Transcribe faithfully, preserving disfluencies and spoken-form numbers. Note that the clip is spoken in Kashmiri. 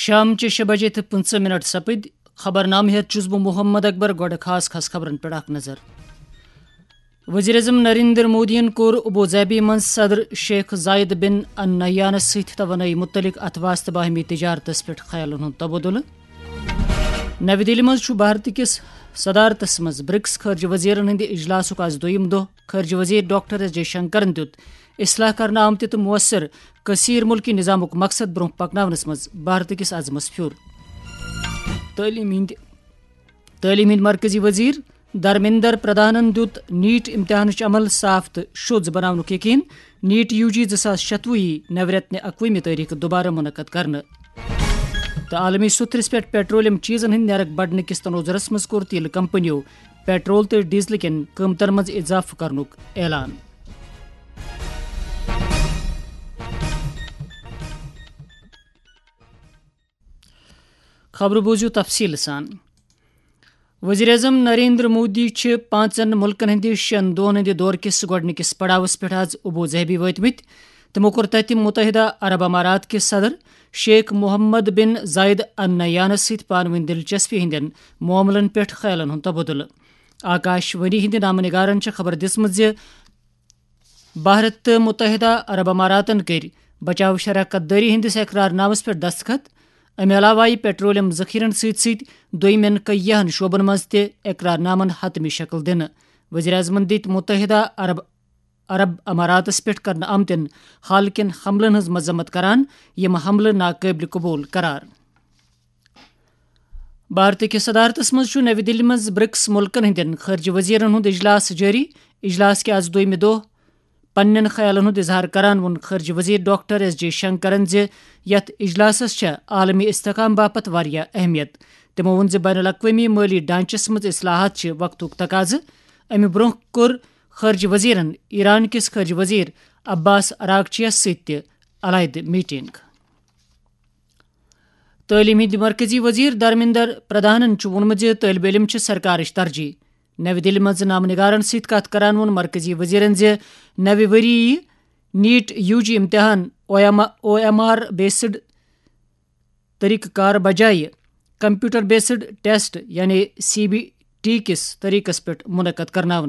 شام چہِ شےٚ بجے تہٕ پٕنٛژٕہ منٹ سپٕدۍ۔ خبرنامہٕ ہیتھ چھُس بہٕ محمد اکبر۔ گۄڈٕ خاص خاص خبرن پٮ۪ٹھ اکھ نظر۔ وزیر اعظم نریندر مودیَن کوٚر ابو ظہبی منٛز صدر شیخ زاید بن النہیانَس سۭتۍ توانٲیی مُتعلق اتھ واسطہٕ باہمی تجارتس پٮ۪ٹھ خیالن ہُنٛد تبادلہٕ۔ نَوِ دِلہِ منٛز چھُ بھارت کِس صدارتس منٛز برکس خارجہ وزیرن ہٕنٛدِ اجلاسُک آز دوٚیِم دۄہ۔ خارجہ وزیر ڈاکٹر ایس جے شنکرن دیُت اصلاح کرنہٕ آمتہِ تہٕ مؤثر کثیر ملکی نظامُک مقصد برونٛہہ پکناونس منٛز بھارت کِس عزمس پھیُر۔ تعلیٖم ہٕنٛدۍ تعلیٖم ہٕنٛدۍ مرکزی وزیر دھرمیندر پردھانن دیُت نیٹ امتحانٕچ عمل صاف تہٕ شوٚژ بناونُک یقین۔ نیٹ یو جی زٕ ساس شتوُہ یی نوِ رٮ۪تہٕ اکوُہمہِ تٲریخہٕ دوبارٕ منعقد کرنہٕ۔ تہٕ عالمی سوٚتھرِس پٮ۪ٹھ پیٹرولیم چیزن ہٕنٛدِ نیرک بڑنہٕ کِس تنوظرس منٛز کوٚر تیل کمپنیو پیٹرول تہٕ ڈیزل کٮ۪ن قۭمتن منٛز اضافہٕ کرنُک اعلان۔ خبرٕ بوٗزِو تفصیٖل سان۔ وزیر اعظم نریندر مودی چھِ پانٛژن مُلکن ہٕنٛدِ شٮ۪ن دۄہن ہٕنٛدِ دورٕ کِس گۄڈٕنِکِس پڑاوس پٮ۪ٹھ آز ابو ظہبی وٲتمٕتۍ۔ تِمو کوٚر تَتہِ متحدہ عرب امارات کِس صدر شیخ محمد بن زاید النہیانَس سۭتۍ پانہٕ ؤنۍ دلچسپی ہٕنٛدٮ۪ن معاملن پٮ۪ٹھ خیالن ہُنٛد تبادلہٕ۔ آکاش وانی ہٕنٛدِ نامہٕ نگارن چھےٚ خبر دِژمٕژ زِ بھارت تہٕ متحدہ عرب اماراتن کٔرۍ بچاو شراکت دٲری ہٕنٛدِس اقرار نامس پٮ۪ٹھ دستخط۔ امہِ علاوٕ آیہِ پیٹرولیم ذخیرن سۭتۍ سۭتۍ دوٚیمٮ۪ن کیاہن شعبن منٛز تہِ اقرار نامن حتمی شکل دِنہٕ۔ وزیر اعظمن دِتۍ متحدہ عرب عرب اماراتس پٮ۪ٹھ کرنہٕ آمتٮ۪ن حال کٮ۪ن حملن ہٕنٛز مذمت کران، یِم حملہٕ ناقٲبلِ قبول قرار۔ بھارت کِس صدارتس منٛز چھُ نَوِ دِلہِ منٛز برکس مُلکن ہٕنٛدٮ۪ن خارجہ وزیرن ہُنٛد اجلاس جٲری۔ اجلاس کہِ آز دوٚیمہِ دۄہ پننٮ۪ن خیالن ہُنٛد اظہار کران ووٚن خارجہ وزیر ڈاکٹر ایس جے شنکرن زِ یتھ اجلاسس چھےٚ عالمی استحکام باپتھ واریاہ اہمیت۔ تِمو ووٚن زِ بین الاقوٲمی مٲلی ڈھانچس منٛز اصلاحات چھِ وقتُک تقاضہٕ۔ امہِ برونٛہہ کوٚر خارجہ وزیرن ایران کِس خارجہ وزیر عباس عراقچیَس سۭتۍ تہِ علیحدٕ میٹنگ۔ تعلیٖم ہٕنٛدۍ مرکزی وزیر دھرمیندر پردھانن چھُ ووٚنمُت زِ طٲلبہِ علم چھِ سرکارٕچ ترجیح۔ نَوِ دِلہِ منٛز نامہٕ نگارن سۭتۍ کتھ کران ووٚن مرکزی وزیرن زِ نَوِ ؤری یی نیٹ یو جی امتحان او ایم آر بیسڈ طریقہٕ کار بجایہِ کمپیوٹر بیسڈ ٹیسٹ یعنی سی بی ٹی کِس طریقس پٮ۪ٹھ منعقد کرناونہٕ۔